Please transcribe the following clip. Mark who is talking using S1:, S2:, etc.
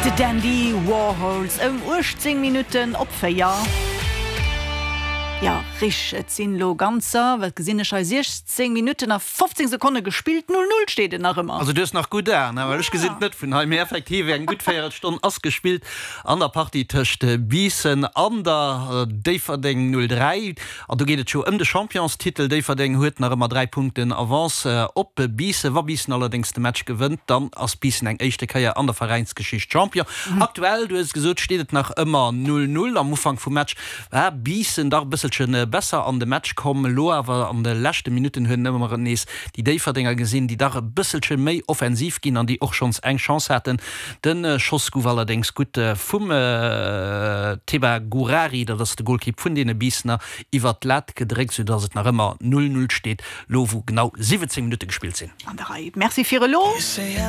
S1: The Dandy Warhols ëm 18 Minutten op 4. Jo, richteg, et sinn elo ganzer, wat gesinn ech hei, 16 Minutten a 15 Sekonne gespillt. 0, 0 steet et nach ëmmer.
S2: Also du hues nach gutt Aen, well ech gesinn et net vun hei. Mee effektiv, eng gutt Véierelstonn ass gespillt an der Partie tëscht Biissen an der Déifferdeng 03. An do geet et jo ëm de Championstitel. Déifferdeng huet nach ëmmer 3 Punkten Avance op Biissen. Wa Biissen allerdéngs de Match gewënnt, dann ass Biissen eng éischte Kéier an der Veräinsgeschicht Champion. Aktuell, du hues et gesot, steet et nach ëmmer 0, 0. Am Ufank vum Match war Biissen dach e bësselche besser an de Match komm. Elo awer an de leschte Minutten huet een ëmmer nees déi Déifferdenger gesinn, déi dach e bësselche méi offensiv ginn an déi och schonns eng Chance haten. De Schoss gouf allerdéngs gutt vum Teba Gourari, dat ass de Golkipp vun deene Biissener, iwwert d'Lat gedréckt, soudass et nach ëmmer 0, 0 steet, lo wou genau 17 Minutte gespillt sinn.
S1: An der Rei. Merci fir elo.